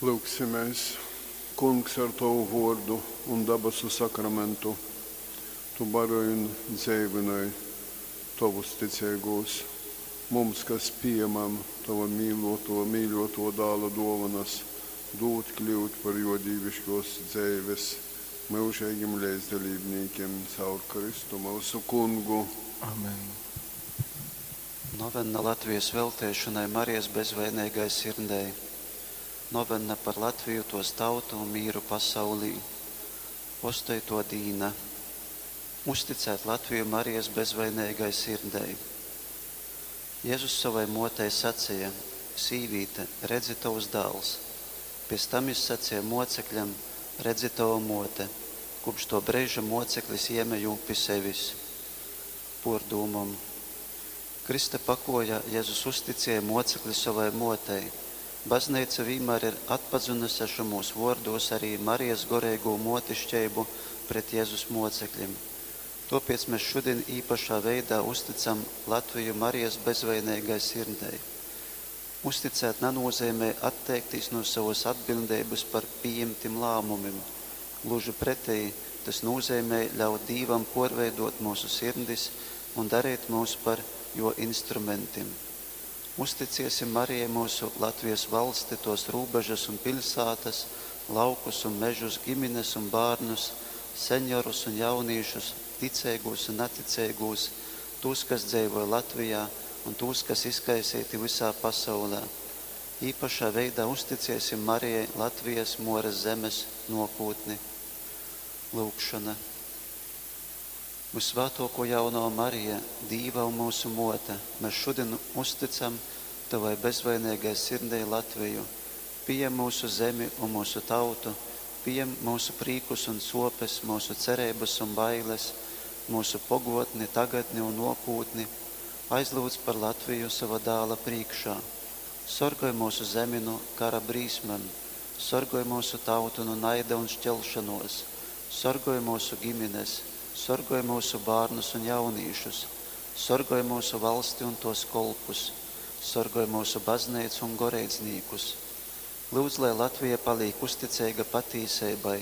Lyugsimēs. Kungs, ar tovu vōrdu un dabasu sakramentu tu baroj un dzeivynoj tovus ticeigūs. Mums, kas pījamam tova mīļōtō Dāla dōvonas, dūd kļyut par jō dīviškōs dzeives myužeigim leidzdalībnīkim caur Kristu myusu Kungu. Amen. Novenna Latvijas velteišonai Marijas bezvaineigai sirdei. Novenna par Latviju, tos tautu un mīru pasaulī. Ostoitō dīna. Uzticēt Latviju Marijas bezvaineigai sirdei. Jezus sovai mōtei saceja: Sīvīte, redzi, tovs dāls! Piec tam jis saceja mōcekļam: Redzi, tova mōte! Kūpš tō breiža mōceklis jēme jū pi sevis. Pōrdūmom. Krysta pakojā Jezus uzticēja mōcekli sovai mōtei. Bazneica vīnmār ir atpazynuse šymūs vōrdūs ari Marijas goreigū mōtiškeibu pret Jezus mōceklim. Tōpēc mes šudin īpašā veidā uztycam Latviju Marijas bezvaineigai sirdei. Uzticēt nanūzeimej atteiktīs nu sovas atbiļdeibas par pījimtim lāmumim. Gluži preteji, tys nūzeimej ļaut Dīvam pōrveidōt myusu sirdis un dareit myus par Jō instrumentim. Uzticiesim Marijai myusu Latvijas valsti, tōs rūbežas un piļsātas, laukus un mežus, gimines un bārnus, seniorus un jaunīšus, ticeigūs un naticeigūs, tūs, kas dzeivoj Latvijā, un tūs, kas izkaiseiti vysā pasaulē. Īpašā veidā uzticiesim Marijai Latvijas, Muoras zemes, nuokūtni. Lyugšona. Vysvātōkō Jaunova Marija, Dīva un myusu Mōte, mes šudin uztycam Tovai bezvaineigai sirdei Latviju. Pījem myusu zemi un myusu tautu, pījem myusu prīkus un sōpes, myusu cereibas un bailes, myusu pogōtni, tagadni un nōkūtni. Aizlyudz par Latviju sova Dāla prīškā. Sorgoj myusu zemi nu kara brīsmem, sorgoj myusu tautu nu naida un šķelšanōs, sorgoj myusu gimines, sorgoj myusu bārnus un jaunīšus, sorgoj myusu valsti un tōs kolpus, sorgoj myusu Bazneicu un goreidznīkus. Lyudz, lai Latvija palīk uzticeiga patīseibai,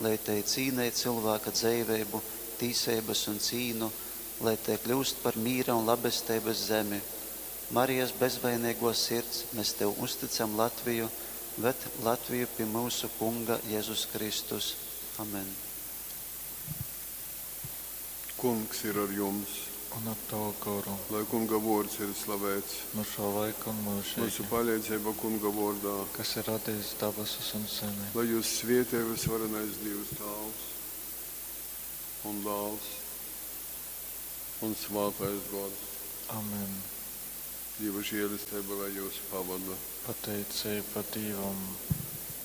lai tei cīnej cylvāka dzeiveibu, tīseibas un cīnu, lai tei kļyust par mīra un labesteibas zemi. Marijas bezvaineigō Sirds, mes Tev uztycam Latviju, ved Latviju pi myusu Kunga Jezus Kristus. Amen. Kungs ir ar jums! Un ar tavu goru. Lai Kunga vōrds ir slaveits. Nu šō laika un Myusu myužeigi. paleidzeiba Kunga vōrdā. Kas ir radejis dabasus un zemi. Lai jūs svietej vysvarenais Dīvs Tāvs un Dāls un Svātais Gors. Amen. Dīva žēlesteiba lai jūs pavoda. Pateiceiba Dīvam.